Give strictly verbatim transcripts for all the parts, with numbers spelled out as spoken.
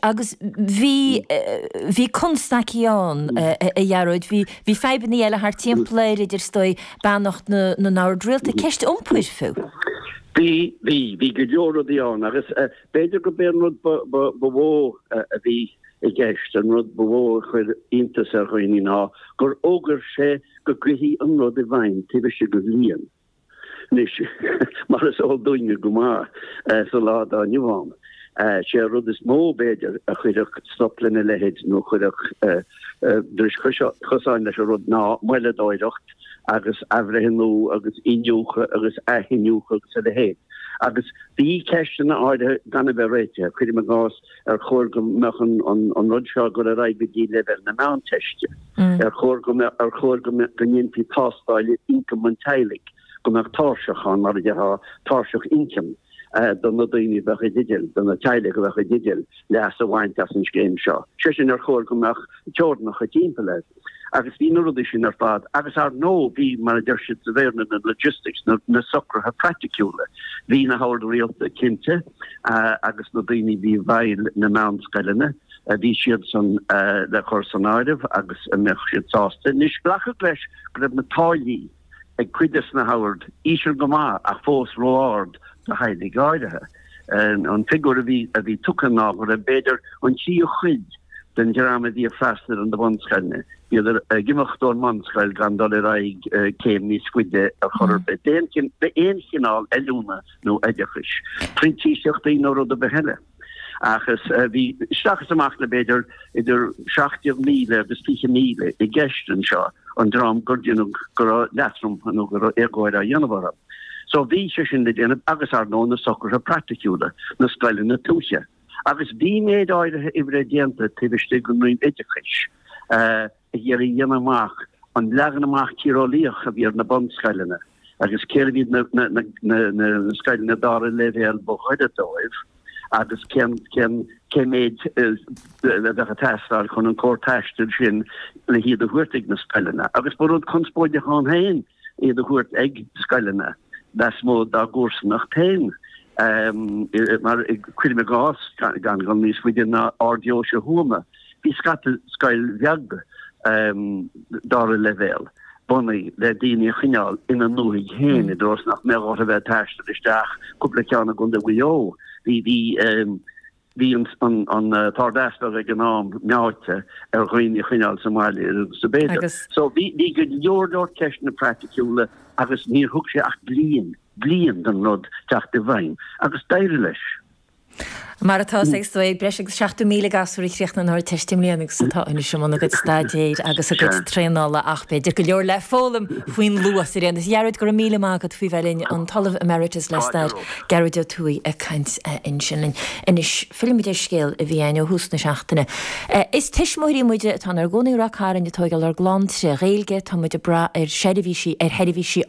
Agus bhí bhí constaicí ann, a Ghearóid, bhí bhí fadhbanna eile thart timpeall air, idir is dóigh beannacht na na n-ord rialta, ceist iompair fiú. Bhí, bhí, bhí go leor rudaí ann agus b'fhéidir go b'é an rud ba ba ba mhó a bhí i gceist, an rud ba mhó a chuir iontas ar dhaoine ná gur fhógair sé go gcuirfí an rud i bhfeidhm taobh istigh de bhliain. Anois, mar is eol dúinne go maith sa lá atá inniu ann, sé an rud is mó, b'fhéidir, a chuirfeadh stop lena leithéid nó a chuirfeadh dris chosáin leis an rud ná moilleadóireacht agus athbhreithniú agus iniúchadh agus athiniúchadh agus a leithéid. Agus bhí ceisteanna áirithe gan a bheith réitithe, cuirim i gcás, ar chóir go mbeadh an rud seo ag dul ar aghaidh go dtí leibhéal na Meánteiste? Ar chóir go mbeadh, ar chóir go ndéanfaí tástáil ar ioncam an teaghlaigh? go mbeadh tairseach ann, mar a déarfá, tairseach ioncaim do na daoine a bheadh i dteideal, do na teaghlaigh a bheadh i dteideal leas a bhaint as an scéim seo. Sé sin, ar chóir go mbeadh teorainneacha timpeall air. Agus bhí na rudaí sin ar fad. Agus ar ndóigh, bhí, mar a deir siad sa Bhéarla, na logistics, na socruithe praiticiúla. Bhí na hoird rialta, cinnte, agus na daoine a bhí i bhfeighil na meánscoileanna, bhí siadsan le cur san áireamh agus an mbeadh siad sásta. Anois, glacadh leis go raibh na táillí, ag cuid des na hoird, íseal go maith ach fós ró-ard do theaghlaigh áirithe. An figiúr a bhí a bhí tugtha ná go raibh b'fhéidir an tríú cuid den dream a bhí ag freastal ar na bunscoileanna, bhíodar ag imeacht ón mbunscoil gan dul ar aghaidh céim níos faide ar chor ar bith, d'aon chineál oiliúna nó oideachais, printíseachtaí nó rud ar bith eile. Ach is bhí isteach is amach le b'fhéidir idir seacht déag míle agus fiche míle i gceist anseo, an dream gur deineadh go raibh leatrom nó go raibh éagóir á dhéanamh orthu. So bhí sé sin le déanamh agus ar ndóigh na socruithe praiticiúla, na scoileanna tuaithe. Agus bhí méid áirithe oibre déanta taobh istigh den Roinn Oideachais ag iarraidh a dhéanamh amach an leagan amach tíreolaíoch a bhí ar na bunscoileanna agus cérbh iad na scoileanna dara leibhéal ba ghaire dóibh. agus cén cén cé méid a bheadh ag teastáil chun an cóir taistil sin le hiad a thabhairt ag na scoileanna. Agus ba rud conspóideach ann féin iad a thabhairt ag scoileanna lasmuigh dá gcomharsanacht féin. Mar cuirim i gcás, gan dul níos faide ná Ard-Deoise Thuama, bhí scata scoil bheag dara leibhéal bunaithe le daoine a choinneáil ina ndúthaigh féin i dtreo is nach mbeadh orthu bheith ag taisteal isteach cúpla ceann i gContae Mhaigh Eo. Bhí bhí bhí an an tArd-Easpag ag an am meáite ar dhaoine a choinneáil sa mbaile agus ab fhéidir. Agus. So bhí bhí go leor leor ceisteanna praiticiúla agus níor thug sé ach bliain, bliain don rud teacht i bhfeidhm agus d'éirigh leis. Mar atá is dóigh, breis agus seachtó míle gasúr a chríochnaigh an Ardteist i mbliana agus atá anois i mbun a gcuid staidéir agus a gcuid traenála ach b'fhéidir go leor le foghlaim faoin luas ar aon nós. A Ghearóid, go raibh míle maith agat faoi bheith linn, an tOllamh Emeritus le Stair, Gearóid Ó Tuathaigh ag caint ansin linn. Anois, fillfimid ar scéal a bhí againn ó thús na seachtaine. Is tuismitheoirí muide atá inár gcónaí i Rath Cairn ag tóigeáil ár gclann tré Ghaeilge, tá muid ag brath ar sheirbhísí, ar sheirbhísí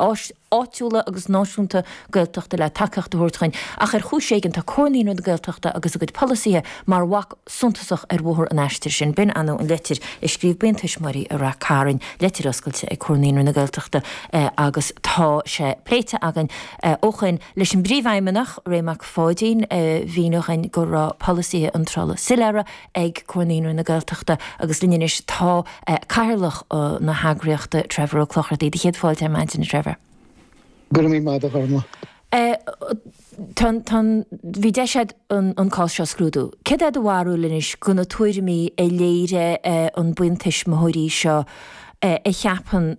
áitiúla agus náisiúnta Gaeltachta le tacaíocht a thabhairt dhuinn, ach ar chúis éigin tá Comhar Naíonraí na Gaeltachta agus a gcuid polasaithe mar bhac suntasach ar bhóthar an aistir sin. B'in ainm an leitir a scríobh buíon tuismitheoirí i Rath Cairn, leitir oscailte ag Comhar Naíonraí na Gaeltachta agus tá sé pléite againn ó shoin leis an bPríomhfheidhmeannach, Ray Mac Pháidín, a mhínigh dhuinn go raibh polasaithe iontrála soiléire ag Comhar Naíonraí na Gaeltachta agus linn anois tá Cathaoirleach na heagraíochta, Trevor Ó Clochartaigh. Do chéad fáilte ar maidin, a Trevor. Go raibh míle maith agat, a Ghormlaith. Tá, tá, bhí deis agat an cás seo a scrúdú. Céard é do bharúil anois de na tuairimí a léirigh an buíon tuismitheoirí seo a cheapann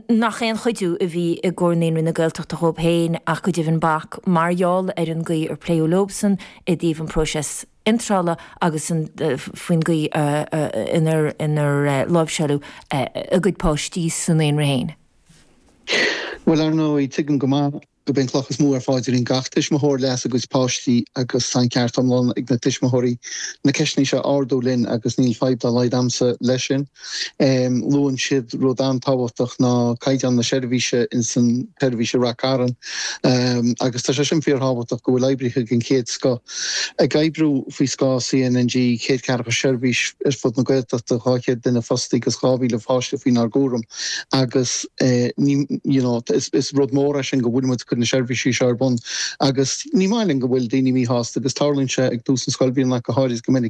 nach aon chuidiú a bhí i gComhar Naíonraí na Gaeltachta dhóibh féin ach go deimhin bac mar gheall ar an gcaoi ar pléadh leobsan i dtaobh an próiseas iontrála agus faoin gcaoi inar inar láimhseáladh a gcuid páistí sa naíonra féin. Bhuel, ar ndóigh, tuigim go maith gurb é an cloch is mó ar phaidrín gach tuismitheoir leas a gcuid páistí agus tá an ceart iomlán ag na tuismitheoirí na ceisteanna seo a ardú linn agus níl fadhb dá laghad a'msa leis sin. Luann siad rud an-tábhachtach ná caighdeán na seirbhíse ins an tseirbhís i Rath Cairn agus tá sé sin fíorthábhachtach go bhfuil oibrithe den chéad scoth ag oibriú faoi scáth C N N G, céad ceathracha seirbhís ar fud na Gaeltachta, dhá chéad duine fostaí agus dhá mhíle pháiste faoinár gcúram agus ní, you know, is rud mór é sin go bhfuil muid cur na seirbhísí seo ar bun agus ní maith linn go bhfuil daoine míshásta agus tarlaíonn sé ag tús na scoilbhliana go háirid go minic.